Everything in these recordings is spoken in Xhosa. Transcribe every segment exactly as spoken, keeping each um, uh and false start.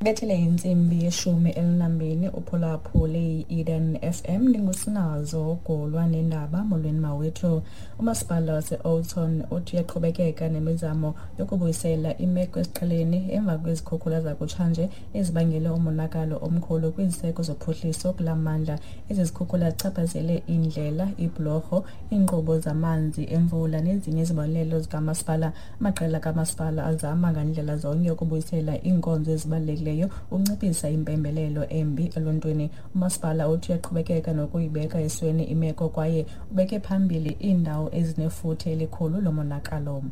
Bethele intsimbi yeshumi elinambini uphulaphule i-Eden F M ndingusinazo golwa nendaba. Molweni mawethu. Umasipala wase-Oudtshoorn uthi uyaqhubekeka nemizamo yokubuyisela imeko esiqheleni emva kwezikhukhula zakutshanje ezibangele umonakalo omkhulu kwiziseko zophuhliso kula mandla. Ezi zikhukhula zichaphazele iindlela, iibhlorho, iinkqubo zamanzi emvula nezinye izibonelelo zikamasipala. Amaqela kamasipala azama ngandlela zonke ukubuyisela iinkonzo ezibalulekileyo ukunciphisa impembelelo embi eluntwini. Umasipala uthi uyaqhubekeka nokuyibeka esweni imeko kwaye ubeke phambili iindawo ezinefuthe elikhulu lomonakalo.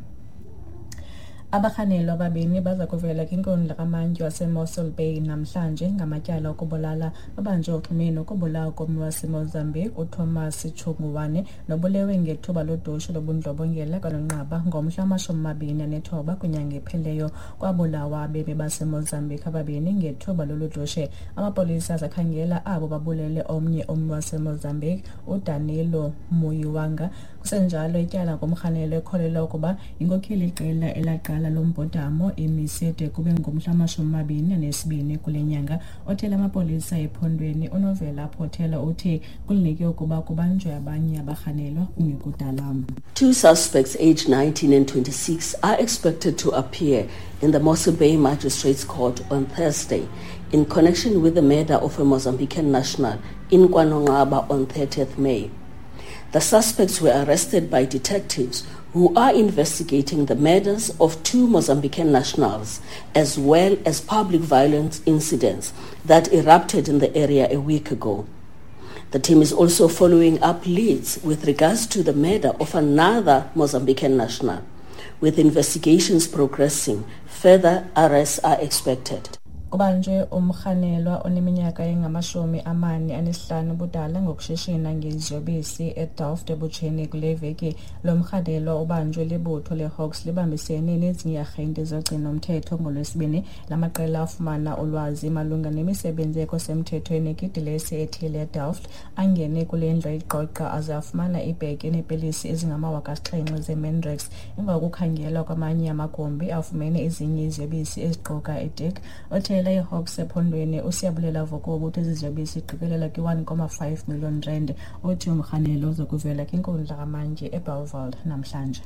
Abarhanelwa ababini baza kuvela kwinkundla kamantyi waseMossel Bay namhlanje ngamatyala okubulala. Babanjwe uxhumene nokubulawa kommi waseMozambique uThomas Chunguwane nobulewe ngethuba lodushe lobundlobongela kwaNonqaba ngomhla wamashumi amabini anethoba kwinyanga ephelileyo. Kwabulawa abemi baseMozambique ababini ngethuba lolu dushe. Amapolisa azakhangela abo babulele omnye ummi waseMozambique uDanilo Muyiwanga. Kusenjalo ityala ngomrhanelwa ekholelwa ukuba yinkokheli iqela elaqala lombhodamo imise de kube ngomhla wamashumi amabini anesibini kule nyanga. Othela amapolisa ephondweni uNovela Potelwa uthi kulindeleke ukuba kubanjwe abanye abarhanelwa kungekudala. Two suspects aged nineteen and twenty-six are expected to appear in the Mossel Bay Magistrates Court on Thursday in connection with the murder of a Mozambican national in KwaNonqaba on thirtieth May. The suspects were arrested by detectives who are investigating the murders of two Mozambican nationals as well as public violence incidents that erupted in the area a week ago. The team is also following up leads with regards to the murder of another Mozambican national. With investigations progressing, further arrests are expected. Kubanjwe umrhanelwa oneminyaka engamashumi amane anesihlanu ubudala ngokushishina ngeziyobisi eDelft ebutsheni kule veki. Lo mrhanelwa ubanjwe libutho leHawks libambisene nezinye iiarhente zogcino-mthetho ngoLwesibini. La maqela afumana ulwazi malunga nemisebenzi ekho semthethweni kwidilesi ethile eDelft. Angene kule ndlu ayiqoqa aze afumana ibhegi eneepilisi ezingamawaka asixhenxe zeMandrax. Emva kokukhangelwa kwamanye amagumbi afumene ezinye iziyobisi eziquka itik. Othe iHawks ephondweni uSiyabulela Vokobo uthi ezi ziyobisi iqikelela kwi-one comma five million rand. Uthi umrhanelwa uzokuvela kwinkundla kamantyi eBellville namhlanje.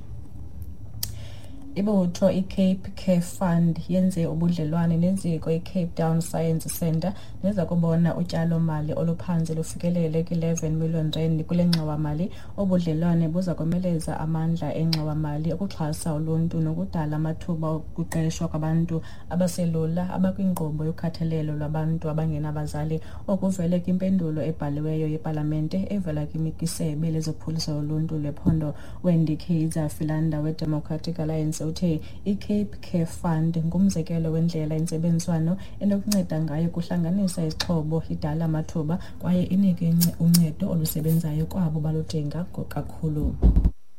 Ibutho iCape Care Fund yenze ubudlelwane neziko iCape Town Science Centre neza kubona utyalo-mali oluphantsi lufikelele kwi-eleven million rand kule ngxowa-mali. Ubudlelwane buza komeleza amandla engxowa-mali ukuxhasa uluntu nokudala amathuba okuqeshwa kwabantu abaselula abakwinkqubo yokhathalelo lwabantu abangenabazali. Okuvele kwimpendulo ebhaliweyo yepalamente evela kwisebe lezophuhliso loluntu lwephondo. Wendy Kaiser Philander weDemocratic Alliance uthe iCape Care Fund ngumzekelo wendlela intsebenziswano enokunceda ngayo kuhlanganisa izixhobo, idala amathuba kwaye inike uncedo olusebenzayo kwabo baludinga kakhulu.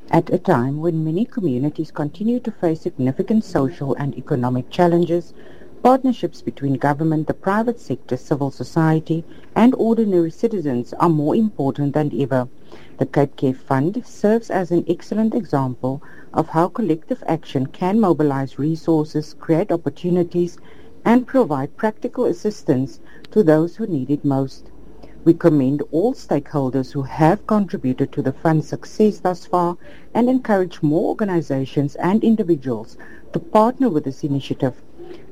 At a time when many communities continue to face significant social and economic challenges, partnerships between government, the private sector, civil society, and ordinary citizens are more important than ever. The Cape Care Fund serves as an excellent example of how collective action can mobilize resources, create opportunities, and provide practical assistance to those who need it most. We commend all stakeholders who have contributed to the fund's success thus far and encourage more organizations and individuals to partner with this initiative.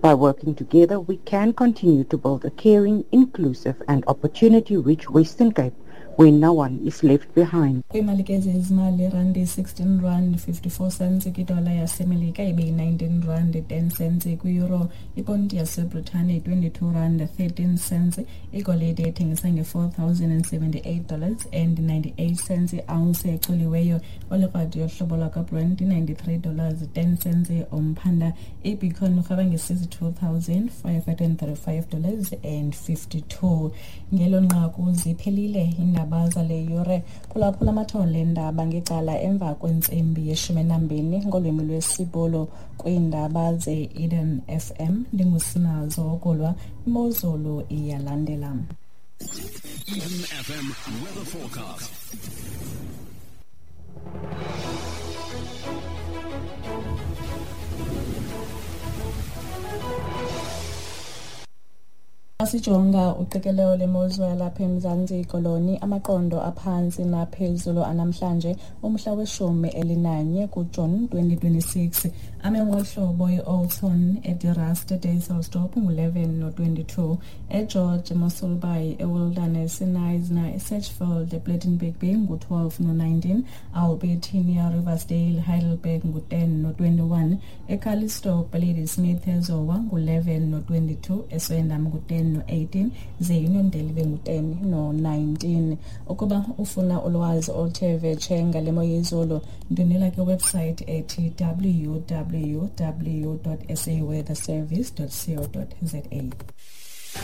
By working together, we can continue to build a caring, inclusive and opportunity-rich Western Cape where no one is left behind. Kwiimali ke zezimali, randi sixteen rand fifty-four cents kwidola yaseMelika ibe yi-nineteen rand ten cents kwi-euro, iponti yaseBritane twenty-two rand thirteen cents, igolide ethengisa nge-four thousand and seventy-eight dollars and ninety-eight cents i-ounce eculiweyo, olikrwadi yohlobo lwakwaBrent ninety-three dollars ten cents umphanda, ibitcoin urhweba nge-sixty-two thousand five hundred and thirty-five dollars and fifty-two. Ngelo nqaku ziphelile iindaba zale yure. Phulaphula amathole eendaba ngecala emva kwentsimbi yeshumi nambini ngolwimi lwesiBhulu kwiindaba ze-Eden F M. Ndingusinazo Okulwa, imozulu iyalandela. Eden F M weather forecast. Xa sijonga uqikelelo lemozulu yalapha eMzantsi Koloni, amaqondo aphantsi naphezulu anamhlanje umhla weshumi elinanye kuJuni twenty twenty-six ame ngohlobo: i-Oudtshoorn, eDe Rust, Dysselsdorp ngu-eleven no-twenty-two, eGeorge, Mossel Bay, eWilderness, eKnysna, eSedgefield, ePlettenberg Bay ngu-twelve no-nineteen, Albertinia, Riversdale, Heidelberg ngu-ten no-twenty-one, eCalitzdorp, Ladysmith, eZowa ngu-eleven no-twenty-two, eSwendam ngu-ten no-eighteen, ze Uniondale ibe ngu-ten no-nineteen. Ukuba ufuna ulwazi oluthe vetshe ngale mo yezulu, ndwendwela kwiwebsite ethi W W W dot saweatherservice dot co dot za.